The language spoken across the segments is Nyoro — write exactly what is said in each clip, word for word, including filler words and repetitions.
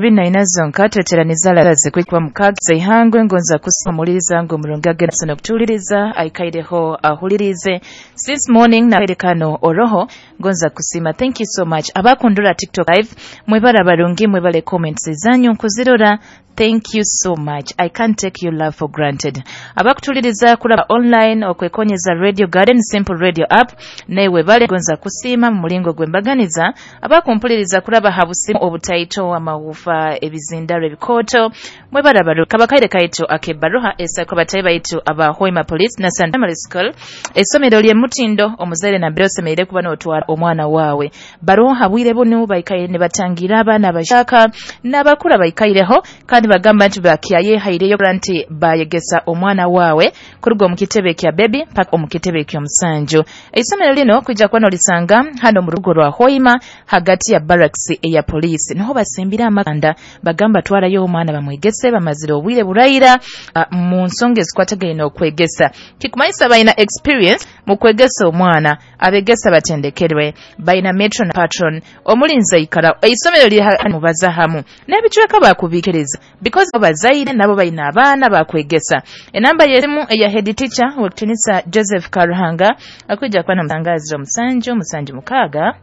Bina zonka tweteraniza laze kwikuba mukaaga zaihangwe ngonza kusamuliriza ngo omurungi agenda nokutuuliriza aikaireho ahulirize since morning na kano oroho ngonza kusima. Thank you so much abakundura TikTok live, mwebara barungi, mwebale comments zanyu nkuzirora. Thank you so much, I can't take your love for granted. Abakutuliriza kulaba online okwekonyeza Radio Garden Simple Radio app, newe bale gonza kusiima mu mulingo gwembaganiza. Abakumpuliriza kulaba habusimu obutaito amawufa ebizindaro ebikoto, mwebara baru kabakaire kaitu akebaruha esako batayi baitu aba Hoima Police na Santa Primary School, essomero lye mutindo omuzaire na mbere osemereire kuba n'otwara omwana waawe. Baroha bwire bunu baikaire ne batangira abaana abashaka n'abakura baikaireho, kandi bagamba nti bakyayeehaireyo nti bayegesa omwana waawe kuruga omu kitebe kya baby mpaka omu kitebe ky'omusanju. Eisomero lino kwijja kuba nolisanga hano mu rugo rwa Hoima hagati ya barracks eya poliisi, niho basimbira amakanda. Bagamba twarayo omwana bamwegese, bamazire obwire buraira uh, mu nsonga ezikwatagaine okwegesa. Kikumanyisa balina experience mu kwegesa omwana, abegesa batendekerwe, balina metron patron omulinzi aikara eisomero liri mubaza hamu n'ebicweka bakubikiriza because bazaire nabo balina abaana bakwegesa. Enamba y'esimu eya head teacher w'ekitinisa Joseph Karuhanga akwijja kuba namutangaazira omusanju musanju mukaaga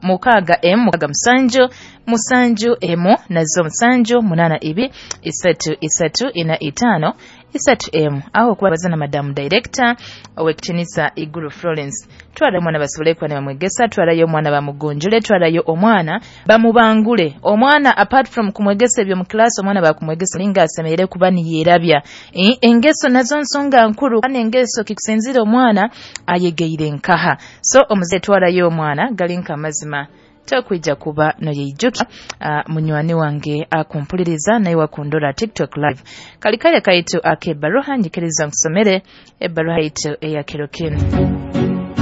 mukaaga emu mukaaga musanju musanju emu nazo musanju munana ibi isatu isatu ina itaano isatu emu, aho okubaza na madamu director ow'ekitinisa Iguru Florence. Twarayo omwana basobole kuba ne bamwegesa, twarayo omwana bamugunjule, twarayo omwana bamubangule. Omwana apart from kumwegesa ebyo mu class, omwana bakumwegesa linga asemerere kuba niyerabya. E, engeso nazo nsonga nkuru, kandi engeso kikusinzira omwana ayegeire nkaha. So omuzaire twarayo omwana galinka amazima tokwija kuba noyeijuka. Uh, munywani wange akumpuliriza naye wakundora TikTok live, kalikale kaitu akebaruha njikiriza nkusomere ebaruha yaitu eyakiro kinu.